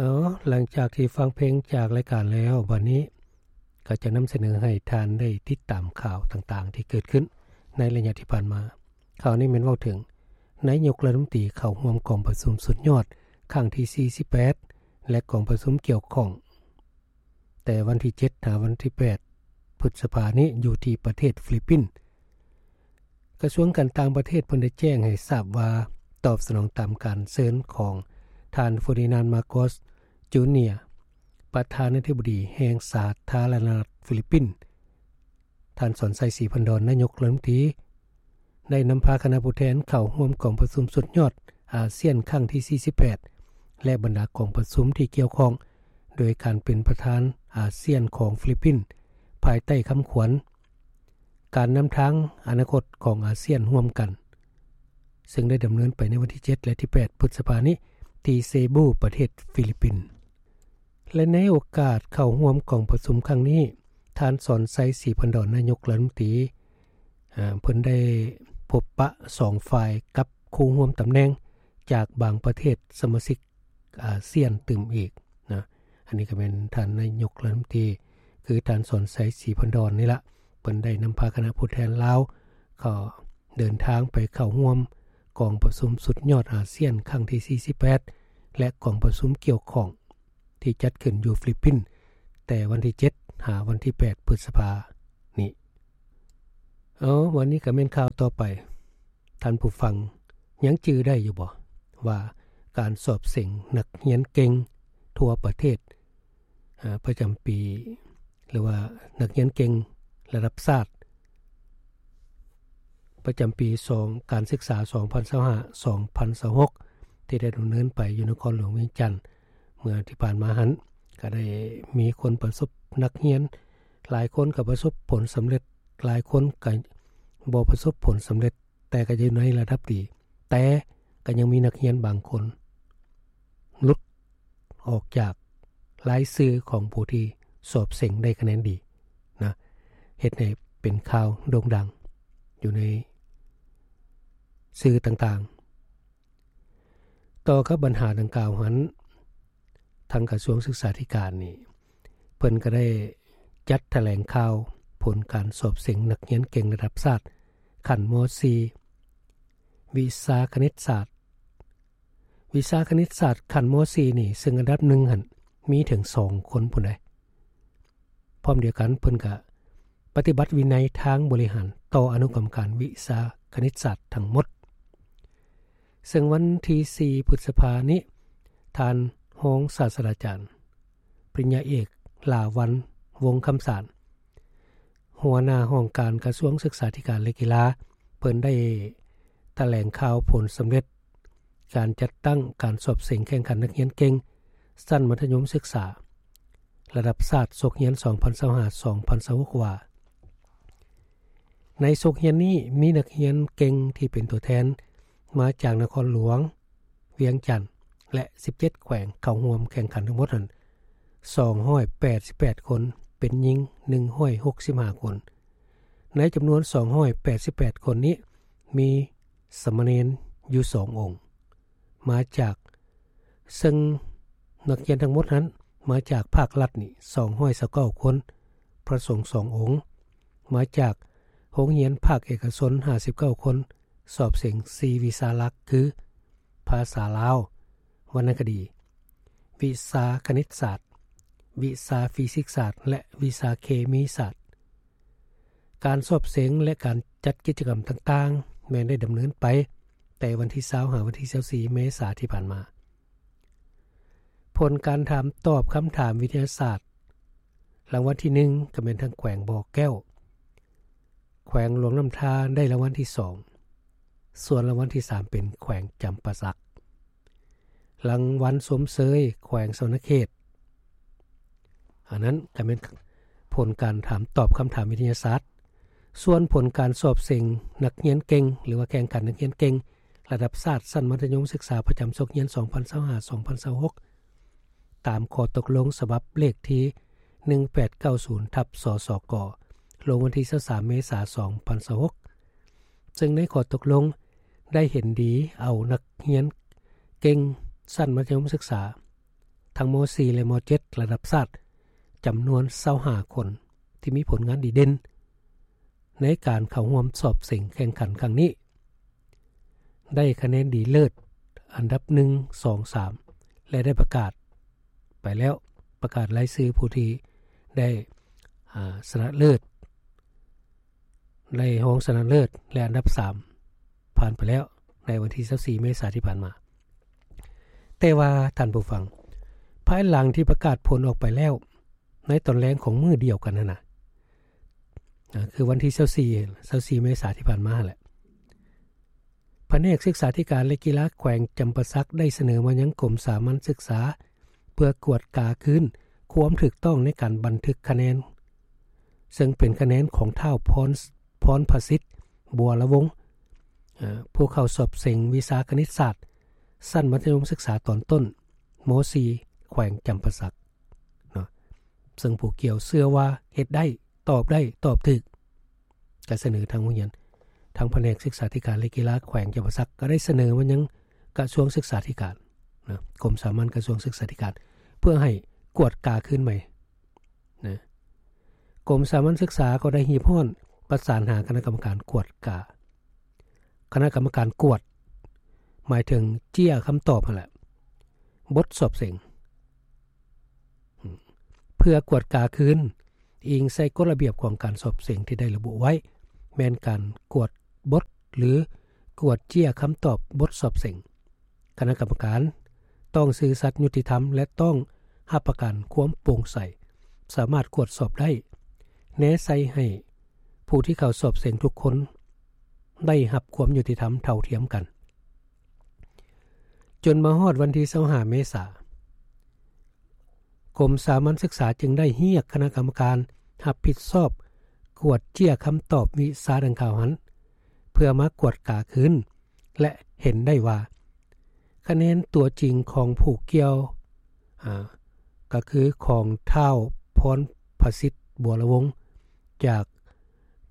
ເອົາ ຫຼັງຈາກທີ່ຟັງເພງຈາກລາຍການແລ້ວ, ບັດນີ້ກໍຈະນຳສະເໜີໃຫ້ທ່ານໄດ້ຕິດຕາມຂ່າວຕ່າງໆທີ່ເກີດຂຶ້ນໃນໄລຍະທີ່ຜ່ານມາ. ຂ່າວນີ້ແມ່ນເວົ້າເຖິງນາຍົກລັດຖະມົນຕີເຂົ້າຮ່ວມກອງປະຊຸມສຸດຍອດຄັ້ງທີສີ່ສິບແປດ ແລະ ກອງປະຊຸມກ່ຽວຂ້ອງ ແຕ່ວັນທີເຈັດຫາວັນທີແປດພຶດສະພານີ້ ຢູ່ທີ່ປະເທດຟີລິບປິນ. ກະຊວງການຕ່າງປະເທດເພິ່ນໄດ້ແຈ້ງໃຫ້ຊາບວ່າ ຕອບສະໜອງຕາມການເຊີນຂອງທ່ານ ເຟີດີນານ ມາໂກສ ຈູເນຍ ປະທານາທິບໍດີແຫ່ງສາທາລະນະລັດຟີລິບປິນ, ທ່ານ ສອນໄຊ ສີພັນດອນ ນາຍົກລັດຖະມົນຕີ ໄດ້ນຳພາຄະນະຜູ້ແທນເຂົ້າຮ່ວມກອງປະຊຸມສຸດຍອດອາຊຽນຄັ້ງທີສີ່ສິບແປດ ແລະ ບັນດາກອງປະຊຸມທີ່ກ່ຽວຂ້ອງ ໂດຍການເປັນປະທານອາຊຽນຂອງຟີລິບປິນ ພາຍໃຕ້ຄຳຂວັນ ການນຳທາງອະນາຄົດຂອງອາຊຽນຮ່ວມກັນ, ເຊິ່ງໄດ້ດຳເນີນໄປໃນວັນທີເຈັດ ແລະ ທີແປດພຶດສະພານີ້ ທີ່ເຊບູ ປະເທດຟີລິບປິນ. ແລະ ໃນໂອກາດເຂົ້າຮ່ວມກອງປະຊຸມຄັ້ງນີ້, ທ່ານ ສອນໄຊ ສີພັນດອນ ນາຍົກລັດຖະມົນຕີ ເພິ່ນໄດ້ພົບປະສອງຝ່າຍກັບຄູ່ຮ່ວມຕຳແໜ່ງຈາກບາງປະເທດສະມາຊິກອາຊຽນຕື່ມອີກນະ. ອັນນີ້ກໍແມ່ນທ່ານນາຍົກລັດຖະມົນຕີ ຄືທ່ານ ສອນໄຊ ສີພັນດອນ ນີ້ລະ ເພິ່ນໄດ້ນຳພາຄະນະຜູ້ແທນລາວ ກໍເດີນທາງໄປເຂົ້າຮ່ວມກອງປະຊຸມສຸດຍອດອາຊຽນຄັ້ງທີສີ່ສິບແປດ ແລະ ກອງປະຊຸມກ່ຽວຂ້ອງທີ່ຈັດຂຶ້ນຢູ່ຟີລິບປິນ ແຕ່ວັນທີເຈັດຫາວັນທີແປດພຶດສະພານີ້. ເອົາ ວັນນີ້ກໍແມ່ນຂ່າວຕໍ່ໄປ. ທ່ານຜູ້ຟັງຍັງຈື່ໄດ້ຢູ່ບໍ່ ວ່າການສອບເສັງນັກຮຽນເກັ່ງທົ່ວປະເທດ ອາ ປະຈຳປີ ຫຼືວ່ານັກຮຽນເກັ່ງລະດັບຊາດ ປະຈຳປີສອງ ການສຶກສາສອງພັນຊາວຫ້າ ສອງພັນຊາວຫົກ ທີ່ໄດ້ດຳເນີນໄປຢູ່ນະຄອນຫຼວງວຽງຈັນເມື່ອທີ່ຜ່ານມາຫັ້ນ ກໍໄດ້ມີຄົນປະສົບ ນັກຮຽນຫຼາຍຄົນກໍປະສົບຜົນສຳເລັດ, ຫຼາຍຄົນກໍບໍ່ປະສົບຜົນສຳເລັດ, ແຕ່ກໍຢູ່ໃນລະດັບດີ, ແຕ່ກໍຍັງມີນັກຮຽນບາງຄົນ ຫຼຸດອອກຈາກລາຍຊື່ຂອງຜູ້ທີ່ສອບເສັງໄດ້ຄະແນນດີນະ, ເຮັດໃຫ້ເປັນຂ່າວໂດ່ງດັງຢູ່ໃນສື່ຕ່າງໆ. ຕໍ່ກັບບັນຫາດັ່ງກ່າວຫັ້ນ, ທາງກະຊວງສຶກສາທິການນີ້ ເພິ່ນກໍໄດ້ຈັດຖະແຫຼງຂ່າວຜົນການສອບເສັງນັກຮຽນເກັ່ງລະດັບຊາດຂັ້ນ ມ.ສີ່ ວິຊາຄະນິດສາດ. ວິຊາຄະນິດສາດຂັ້ນ ມ.ສີ່ ນີ້ ເຊິ່ງອັນດັບໜຶ່ງຫັ້ນມີເຖິງສອງຄົນພຸ້ນໃດ໋. ພ້ອມດຽວກັນເພິ່ນກະປະຕິບັດວິໄນທາງບໍລິຫານຕໍ່ອະນຸກຳມະການວິຊາຄະນິດສາດທັງໝົດ. ເຊິ່ງວັນທີສີ່ພຶດສະພານີ້ ທ່ານຮອງສາດສະດາຈານ ປະລິນຍາເອກ ຫຼາວັນ ວົງຄຳສານ ຫົວໜ້າຫ້ອງການກະຊວງສຶກສາທິການ ແລະ ກິລາ ເພິ່ນໄດ້ຖະແຫຼງຂ່າວຜົນສຳເລັດການຈັດຕັ້ງການສອບເສັງແຂ່ງຂັນນັກຮຽນເກັ່ງຊັ້ນມັດທະຍົມສຶກສາລະດັບຊາດ ສົກຮຽນສອງພັນຊາວຫ້າ ສອງພັນຊາວຫົກ ວ່າ ໃນສົກຮຽນນີ້ມີນັກຮຽນເກັ່ງທີ່ເປັນຕົວແທນມາຈາກນະຄອນຫຼວງວຽງຈັນ ແລະ ສິບເຈັດແຂວງເຂົ້າຮ່ວມແຂ່ງຂັນທັງໝົດນັ້ນ ສອງຮ້ອຍແປດສິບແປດຄົນ, ເປັນຍິງ ໜຶ່ງຮ້ອຍຫົກສິບຫ້າຄົນ. ໃນຈຳນວນ ສອງຮ້ອຍແປດສິບແປດຄົນນີ້ ມີສາມະເນນຢູ່ສອງອົງ ມາຈາກ ເຊິ່ງນັກຮຽນທັງໝົດນັ້ນມາຈາກພາກລັດນີ້ ສອງຮ້ອຍຊາວເກົ້າຄົນ, ພະສົງສອງອົງ, ມາຈາກໂຮງຮຽນພາກເອກະຊົນ ຫ້າສິບເກົ້າຄົນ, ສອບເສັງສີ່ວິຊາຫຼັກ ຄື ພາສາລາວ, ວັນນະຄະດີ, ວິຊາຄະນິດສາດ, ວິຊາຟີຊິກສາດ ແລະ ວິຊາເຄມີສາດ. ການສອບເສັງ ແລະ ການຈັດກິດຈະກຳຕ່າງໆ ແມ່ນໄດ້ດຳເນີນໄປແຕ່ວັນທີຊາວ ຫາວັນທີຊາວສີ່ ເມສາທີ່ຜ່ານມາ. ຜົນການຖາມຕອບຄຳຖາມວິທະຍາສາດ ລາງວັນທີໜຶ່ງ ກໍແມ່ນທາງແຂວງບໍ່ແກ້ວ, ແຂວງຫຼວງນ້ຳທາໄດ້ລາງວັນທີສອງ, ສ່ວນລາງວັນທີສາມ ເປັນແຂວງຈຳປາສັກ. ລາງວັນຊົມເຊີຍແຂວງສະຫວັນນະເຂດ. ອັນນັ້ນກໍແມ່ນຜົນການຖາມຕອບຄຳຖາມວິທະຍາສາດ. ສ່ວນຜົນການສອບເສັງນັກຮຽນເກັ່ງ ຫຼືວ່າແຂ່ງຂັນນັກຮຽນເກັ່ງລະດັບຊາດຊັ້ນມັດທະຍົມສຶກສາປະຈຳສົກຮຽນສອງພັນຊາວຫ້າ ສອງພັນຊາວຫົກ ຕາມຂໍ້ຕົກລົງສະບັບເລກທີໜຶ່ງແປດເກົ້າສູນ ທັບ ສສກ ລົງວັນທີຊາວສາມ ເມສາ ສອງພັນຊາວຫົກ ເຊິ່ງໃນຂໍ້ຕົກລົງໄດ້ເຫັນດີເອົານັກຮຽນເກັ່ງຊັ້ນມັດທະຍົມສຶກສາ ທັງ ມ.ສີ່ ແລະ ມ.ເຈັດ ລະດັບຊາດ ຈຳນວນ ຊາວຫ້າ ຄົນ ທີ່ມີຜົນງານດີເດັ່ນ ໃນການເຂົ້າຮ່ວມສອບເສັງແຂ່ງຂັນຄັ້ງນີ້ ໄດ້ຄະແນນດີເລີດອັນດັບ ໜຶ່ງ ສອງ ສາມ ແລະ ໄດ້ປະກາດໄປແລ້ວ ປະກາດລາຍຊື່ຜູ້ທີ່ໄດ້ ອາ ຊະນະເລີດ ໄດ້ຮອງຊະນະເລີດ ແລະ ອັນດັບ ສາມ ຜ່ານໄປແລ້ວ ໃນວັນທີ ຊາວສີ່ ເມສາທີ່ຜ່ານມາ. ແຕ່ວ່າທ່ານຜູ້ຟັງ, ພາຍຫຼັງທີ່ປະກາດຜົນອອກໄປແລ້ວ ໃນຕອນແລງຂອງມື້ດຽວກັນຫັ້ນນະ ອາ ຄືວັນທີ ຊາວສີ່ ຊາວສີ່ ເມສາທີ່ຜ່ານມາຫັ້ນແຫຼະ ພະແນກສຶກສາທິການ ແລະ ກິລາແຂວງຈຳປາສັກ ໄດ້ສະເໜີມາຍັງກົມສາມັນສຶກສາ ເພື່ອກວດກາຄືນຄວາມຖືກຕ້ອງໃນການບັນທຶກຄະແນນ ເຊິ່ງເປັນຄະແນນຂອງທ້າວ ພອນ ພອນພະສິດ ບົວລະວົງ ເອີ ຜູ້ເຂົ້າສອບເສັງວິຊາຄະນິດສາດ ຊັ້ນມັດທະຍົມສຶກສາຕອນຕົ້ນ ມ.ສີ່ ແຂວງຈຳປາສັກເນາະ ເຊິ່ງຜູ້ກ່ຽວເຊື່ອວ່າເຮັດໄດ້ ຕອບໄດ້ ຕອບຖືກ ກໍສະເໜີທາງໂຮງຮຽນ ທາງພະແນກສຶກສາທິການ ແລະ ກິລາແຂວງຈຳປາສັກ ກໍໄດ້ສະເໜີມາຍັງກະຊວງສຶກສາທິການນະ ກົມສາມັນກະຊວງສຶກສາທິການ ເພື່ອໃຫ້ກວດກາຄືນໃໝ່ນະ. ກົມສາມັນສຶກສາກໍໄດ້ຮີບຮ້ອນປະສານຫາຄະນະກຳມະການກວດກາ ຄະນະກຳມະການກວດ ໝາຍເຖິງເຈ້ຍຄຳຕອບຫັ້ນແຫຼະ ບົດສອບເສັງ ເພື່ອກວດກາຄືນ ອີງໃສ່ກົດລະບຽບຂອງການສອບເສັງທີ່ໄດ້ລະບຸໄວ້ ແມ່ນການກວດບົດ ຫຼື ກວດເຈ້ຍຄຳຕອບບົດສອບເສັງ. ຄະນະກຳມະການຕ້ອງຊື່ສັດ, ຍຸຕິທຳ ແລະ ຕ້ອງຮັບປະກັນຄວາມໂປ່ງໃສ, ສາມາດກວດສອບໄດ້, ແນໃສ່ໃຫ້ຜູ້ທີ່ເຂົ້າສອບເສັງທຸກຄົນໄດ້ຮັບຄວາມຍຸຕິທຳເທົ່າທຽມກັນ. ຈົນມາຮອດວັນທີ ຊາວຫ້າ ເມສາ, ກົມສາມັນສຶກສາຈຶ່ງໄດ້ຮຽກຄະນະກຳມະການຮັບຜິດຊອບກວດເຈ້ຍຄຳຕອບວິຊາດັ່ງກ່າວຫັ້ນ ເພື່ອມາກວດກາຄືນ ແລະ ເຫັນໄດ້ວ່າ ຄະແນນຕົວຈິງຂອງຜູ້ກ່ຽວ ອາ ກໍຄືຂອງທ້າວ ພອນພະສິດ ບົວລະວົງ ຈາກ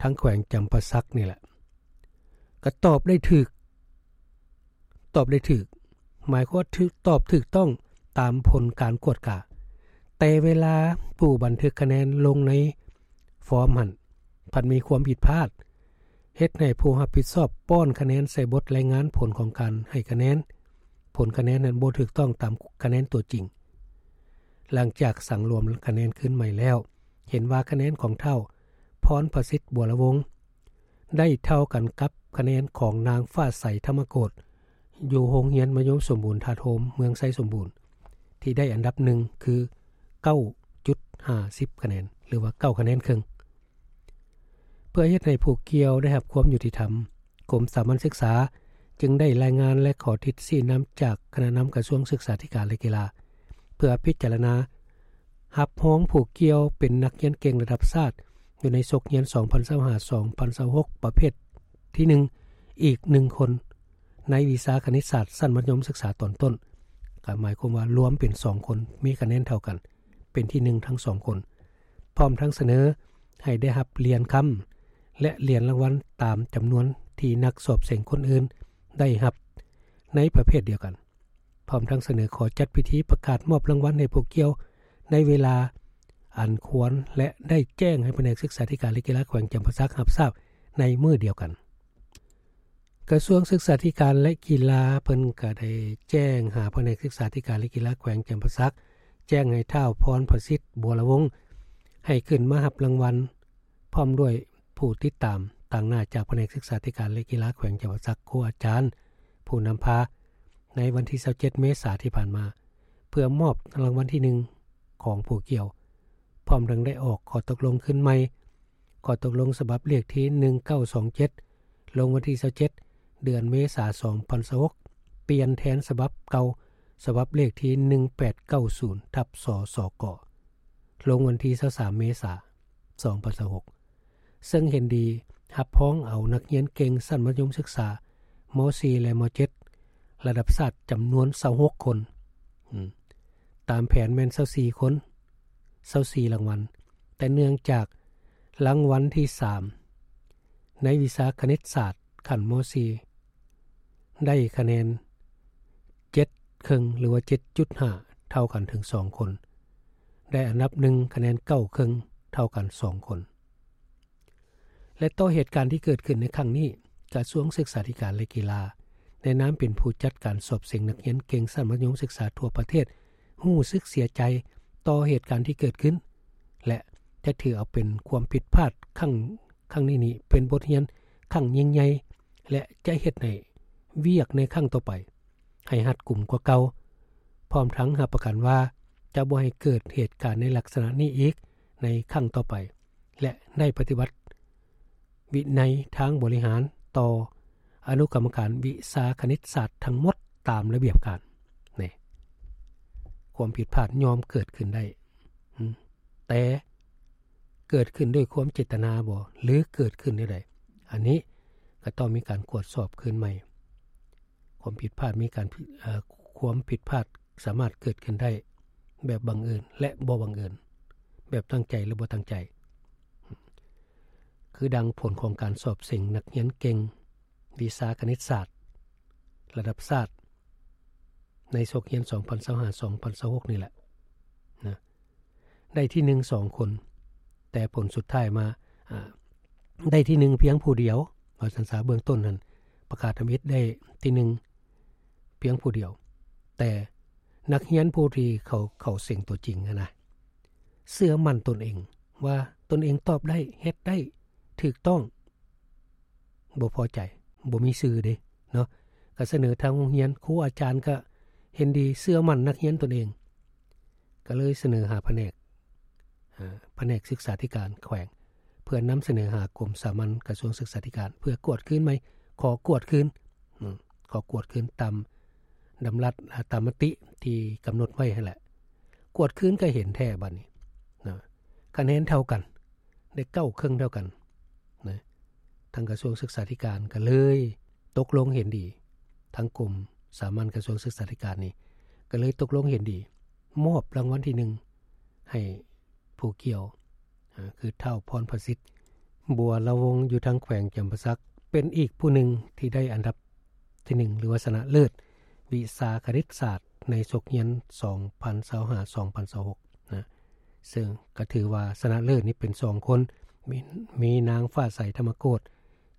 ທາງແຂວງຈຳປາສັກນີ້ແຫຼະ ກໍຕອບໄດ້ຖືກ ຕອບໄດ້ຖືກ ໝາຍຄວາມວ່າຖືກ ຕອບຖືກຕ້ອງຕາມຜົນການກວດກາ. ແຕ່ເວລາຜູ້ບັນທຶກຄະແນນລົງໃນຟອມຫັ້ນ ພັດມີຄວາມຜິດພາດ ເຮັດໃຫ້ຜູ້ຮັບຜິດຊອບປ້ອນຄະແນນໃສ່ບົດລາຍງານຜົນຂອງການໃຫ້ຄະແນນ. ຜົນຄະແນນນັ້ນບໍ່ຖືກຕ້ອງຕາມຄະແນນຕົວຈິງ. ຫຼັງຈາກສັງລວມຄະແນນຄືນໃໝ່ແລ້ວ, ເຫັນວ່າຄະແນນຂອງທ້າວ ພອນພະສິດ ບົວລະວົງ ໄດ້ເທົ່າກັນກັບຄະແນນຂອງນາງ ຟ້າໃສ ທຳມະໂກດ ຢູ່ໂຮງຮຽນມະຍົມສົມບູນທາດໂຮມ ເມືອງໄຊສົມບູນ ທີ່ໄດ້ອັນດັບໜຶ່ງ ຄື ເກົ້າຈຸດຫ້າສິບຄະແນນ ຫຼືວ່າ ເກົ້າຄະແນນເຄິ່ງ. ເພື່ອເຮັດໃຫ້ຜູ້ກ່ຽວໄດ້ຮັບຄວາມຍຸຕິທຳ, ກົມສາມັນສຶກສາຈຶ່ງໄດ້ລາຍງານ ແລະ ຂໍທິດຊີ້ນຳຈາກຄະນະນຳກະຊວງສຶກສາທິການ ແລະ ກິລາ ເພື່ອພິຈາລະນາຮັບຮອງຜູ້ກ່ຽວເປັນນັກຮຽນເກັ່ງລະດັບຊາດ ຢູ່ໃນສົກຮຽນ ສອງພັນຊາວຫ້າ ສອງພັນຊາວຫົກ ປະເພດທີໜຶ່ງ ອີກໜຶ່ງຄົນ ໃນວິຊາຄະນິດສາດຊັ້ນມັດທະຍົມສຶກສາຕອນຕົ້ນ, ກໍໝາຍຄວາມວ່າລວມເປັນສອງຄົນ ມີຄະແນນເທົ່າກັນ ເປັນທີໜຶ່ງທັງສອງຄົນ, ພ້ອມທັງສະເໜີໃຫ້ໄດ້ຮັບຫຼຽນຄຳ ແລະ ຫຼຽນລາງວັນຕາມຈຳນວນທີ່ນັກສອບເສັງຄົນອື່ນໄດ້ຮັບໃນປະເພດດຽວກັນ, ພ້ອມທັງສະເໜີຂໍຈັດພິທີປະກາດມອບລາງວັນໃຫ້ຜູ້ກ່ຽວໃນເວລາອັນຄວນ ແລະ ໄດ້ແຈ້ງໃຫ້ພະແນກສຶກສາທິການ ແລະ ກິລາແຂວງຈຳປາສັກຮັບຊາບໃນມື້ດຽວກັນ. ກະຊວງສຶກສາທິການ ແລະ ກິລາ ເພິ່ນກະໄດ້ແຈ້ງຫາພະແນກສຶກສາທິການ ແລະ ກິລາແຂວງຈຳປາສັກ ແຈ້ງໃຫ້ທ້າວ ພອນພະສິດ ບົວລະວົງ ໃຫ້ຂຶ້ນມາຮັບລາງວັນ ພ້ອມດ້ວຍຜູ້ຕິດຕາມຕາງໜ້າຈາກພະແນກສຶກສາທິການ ແລະ ກິລາແຂວງຈຳປາສັກ, ຄູອາຈານ, ຜູ້ນຳພາ ໃນວັນທີ ຊາວເຈັດ ເມສາທີ່ຜ່ານມາ ເພື່ອມອບລາງວັນທີໜຶ່ງຂອງຜູ້ກ່ຽວ, ພ້ອມທັງໄດ້ອອກຂໍ້ຕົກລົງຄືນໃໝ່ ຂໍ້ຕົກລົງສະບັບເລກທີ ໜຶ່ງເກົ້າສອງເຈັດ ລົງວັນທີ ຊາວເຈັດ ເດືອນເມສາ ສອງພັນຊາວຫົກ ປ່ຽນແທນສະບັບເກົ່າ ສະບັບເລກທີ ໜຶ່ງແປດເກົ້າສູນ ທັບ ສສກ ລົງວັນທີ ຊາວສາມ ເມສາ ສອງພັນຊາວຫົກ ເຊິ່ງເຫັນດີຮັບຮອງເອົານັກຮຽນເກັ່ງຊັ້ນມັດທະຍົມສຶກສາ ມ.ສີ່ ແລະ ມ.ເຈັດ ລະດັບຊາດຈຳນວນ ຊາວຫົກຄົນ, ຕາມແຜນແມ່ນ ຊາວສີ່ຄົນ, ຊາວສີ່ລາງວັນ, ແຕ່ເນື່ອງຈາກລາງວັນທີສາມ ໃນວິຊາຄະນິດສາດຂັ້ນ ມ.ສີ່ ໄດ້ຄະແນນ ເຈັດເຄິ່ງ ຫຼືວ່າ ເຈັດຈຸດຫ້າ ເ ເທົ່າກັນເຖິງສອງຄົນ, ໄດ້ອັນດັບໜຶ່ງຄະແນນເກົ້າເຄິ່ງເທົ່າກັນສອງຄົນ. ແລະ ຕໍ່ເຫດການທີ່ເກີດຂຶ້ນໃນຄັ້ງນີ້, ກະຊວງສຶກສາທິການ ແລະ ກິລາ ໃນນາມເປັນຜູ້ຈັດການສອບເສັງນັກຮຽນເກັ່ງຊັ້ນມັດທະຍົມສຶກສາທົ່ວປະເທດ ຮູ້ສຶກເສຍໃຈຕໍ່ເຫດການທີ່ເກີດຂຶ້ນ ແລະ ຈະຖືເອົາເປັນຄວາມຜິດພາດຄັ້ງ, ຄັ້ງນີ້ນີ້ເປັນບົດຮຽນຄັ້ງຍິ່ງໃຫຍ່ ແລະ ຈະເຮັດໃຫ້ວຽກໃນຄັ້ງຕໍ່ໄປໃຫ້ຮັດກຸມກວ່າເກົ່າ, ພ້ອມທັງຮັບປະກັນວ່າຈະບໍ່ໃຫ້ເກີດເຫດການໃນລັກສະນະນີ້ອີກໃນຄັ້ງຕໍ່ໄປ ແລະ ໄດ້ປະຕິບັດວິໄນທາງບໍລິຫານຕໍ່ອະນຸກຳມະການວິຊາຄະນິດສາດທັງໝົດຕາມລະບຽບການ. ນີ້ ຄວາມຜິດພາດຍ່ອມເກີດຂຶ້ນໄດ້, ອືມ ແຕ່ເກີດຂຶ້ນດ້ວຍຄວາມເຈດຕະນາບໍ່ ຫຼື ເກີດຂຶ້ນແນວໃດ? ອັນນີ້ກໍຕ້ອງມີການກວດສອບຄືນໃໝ່. ຄວາມຜິດພາດມີການ, ເອີ ຄວາມຜິດພາດສາມາດເກີດຂຶ້ນໄດ້ແບບບັງເອີນ ແລະ ບໍ່ບັງເອີນ, ແບບຕັ້ງໃຈ ແລະ ບໍ່ຕັ້ງໃຈ. ຄືດັ່ງຜົນຂອງການສອບເສັງນັກຮຽນເກັ່ງວິຊາຄະນິດສາດລະດັບຊາດ ໃນສົກຮຽນສອງພັນຊາວຫ້າ ສອງພັນຊາວຫົກນີ້ແຫຼະນະ, ໄດ້ທີໜຶ່ງສອງຄົນ, ແຕ່ຜົນສຸດທ້າຍມາ, ອາ, ໄດ້ທີໜຶ່ງພຽງຜູ້ດຽວ, ວ່າຊັ້ນຊະ. ເບື້ອງຕົ້ນຫັ້ນປະກາດທຳອິດໄດ້ທີໜຶ່ງພຽງຜູ້ດຽວ, ແຕ່ນັກຮຽນຜູ້ທີ່ເຂົາ, ເຂົາເສັງຕົວຈິງຫັ້ນນະ ເຊື່ອໝັ້ນຕົນເອງວ່າຕົນເອງຕອບໄດ້, ເຮັດໄດ້, ຖືກຕ້ອງ, ບໍ່ພໍໃຈ, ບໍ່ມີຊື່ເດ້ເນາະ, ກໍສະເໜີທາງໂຮງຮຽນ, ຄູອາຈານກໍເຫັນດີ, ເຊື່ອໝັ້ນນັກຮຽນຕົນເອງ, ກໍເລີຍສະເໜີຫາພະແນກ, ອາ, ພະແນກສຶກສາທິການແຂວງ ເພື່ອນຳສະເໜີຫາກົມສາມັນກະຊວງສຶກສາທິການ ເພື່ອກວດຄືນໃໝ່, ຂໍກວດຄືນ, ອືມ, ຂໍກວດຄືນຕາມດຳລັດ, ອາ, ຕາມມະຕິທີ່ກຳນົດໄວ້ຫັ້ນແຫຼະ. ກວດຄືນກໍເຫັນແທ້ບັດນີ້ນະ, ຄະແນນເທົ່າກັນ, ໄດ້ເກົ້າເຄິ່ງເທົ່າກັນນະ. ທາງກະຊວງສຶກສາທິການກໍເລີຍຕົກລົງເຫັນດີ, ທາງກົມສາມັນກະຊວງສຶກສາທິການນີ້ກໍເລີຍຕົກລົງເຫັນດີ ມອບລາງວັນທີໜຶ່ງໃຫ້ຜູ້ກ່ຽວ, ອາ, ຄືທ້າວພອນພະສິດ ບົວລະວົງ ຢູ່ທາງແຂວງຈຳປາສັກ ເປັນອີກຜູ້ໜຶ່ງທີ່ໄດ້ອັນດັບທີໜຶ່ງ ຫຼືວ່າຊະນະເລີດວິຊາຄະນິດສາດໃນສົກຮຽນສອງພັນຊາວຫ້າ ສອງພັນຊາວຫົກນະ. ເຊິ່ງກໍຖືວ່າຊະນະເລີດນີ້ເປັນສອງຄົນ, ມີ, ມີນາງຟ້າໃສ ທຳມະໂກດ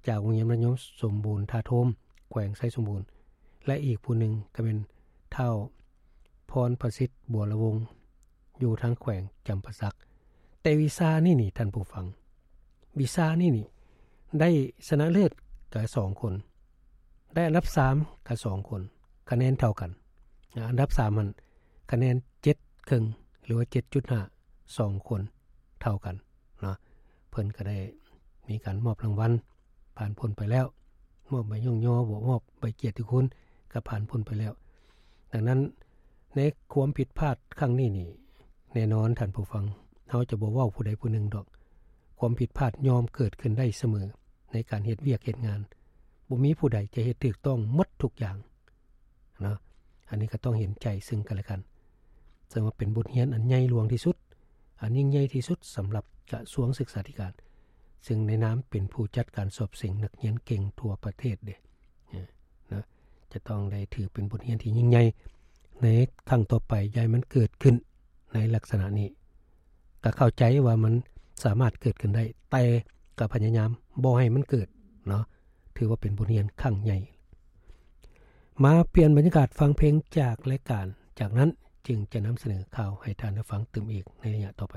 ຈາກໂຮງຮຽນມັດທະຍົມສົມບູນທ່າໂທມ ແຂວງໄຊສົມບູນ ແລະ ອີກຜູ້ໜຶ່ງກໍແມ່ນທ້າວພອນພະສິດ ບົວລະວົງ ຢູ່ທາງແຂວງຈຳປາສັກ. ແຕ່ວິຊານີ້ນີ້ທ່ານຜູ້ຟັງ, ວິຊານີ້ນີ້ໄດ້ຊະນະເລີດກໍສອງຄົນ, ໄດ້ອັນດັບສາມກໍສອງຄົນ, ຄະແນນເທົ່າກັນ. ອາ, ອັນດັບສາມຫັ້ນຄະແນນເຈັດເຄິ່ງ ຫຼືວ່າເຈັດຈຸດຫ້າ ສອງຄົນເທົ່າກັນເນາະ. ເພິ່ນກໍໄດ້ມີການມອບລາງວັນຜ່ານພົ້ນໄປແລ້ວ, ມອບໃບຍ້ອງຍໍ ບໍ່ມອບໃບກຽດຕິຄຸນ ກໍຜ່ານພົ້ນໄປແລ້ວ. ດັ່ງນັ້ນ ໃນຄວາມຜິດພາດຄັ້ງນີ້ນີ້ ແນ່ນອນທ່ານຜູ້ຟັງ, ເຮົາຈະບໍ່ເວົ້າຜູ້ໃດຜູ້ໜຶ່ງດອກ. ຄວາມຜິດພາດຍ່ອມເກີດຂຶ້ນໄດ້ສະເໝີໃນການເຮັດວຽກເຮັດງານ. ບໍ່ມີຜູ້ໃດຈະເຮັດຖືກຕ້ອງໝົດທຸກຢ່າງເນາະ. ອັນນີ້ກໍຕ້ອງເຫັນໃຈເຊິ່ງກັນແລະກັນ. ເຊິ່ງວ່າເປັນບົດຮຽນອັນໃຫຍ່ຫຼວງທີ່ສຸດ, ອັນຍິ່ງໃຫຍ່ທີ່ສຸດສຳລັບກະຊວງສຶກສາທິການ, ເຊິ່ງໃນນາມເປັນຜູ້ຈັດການສອບເສັງນັກຮຽນເກັ່ງທົ່ວປະເທດເດ້. ເນາະ, ຈະຕ້ອງໄດ້ຖືເປັນບົດຮຽນທີ່ຍິ່ງໃຫຍ່ໃນຄັ້ງຕໍ່ໄປ, ຢ່າໃຫ້ມັນເກີດຂຶ້ນໃນລັກສະນະນີ້. ກໍເຂົ້າໃຈວ່າມັນສາມາດເກີດຂຶ້ນໄດ້, ແຕ່ກໍພະຍາຍາມບໍ່ໃຫ້ມັນເກີດເນາະ, ຖືວ່າເປັນບົດຮຽນຄັ້ງໃຫຍ່. ມາປ່ຽນບັນຍາກາດຟັງເພງຈາກລາຍການ, ຈາກນັ້ນຈຶ່ງຈະນຳສະເໜີຂ່າວໃຫ້ທ່ານໄດ້ຟັງຕື່ມອີກໃນໄລຍະຕໍ່ໄປ.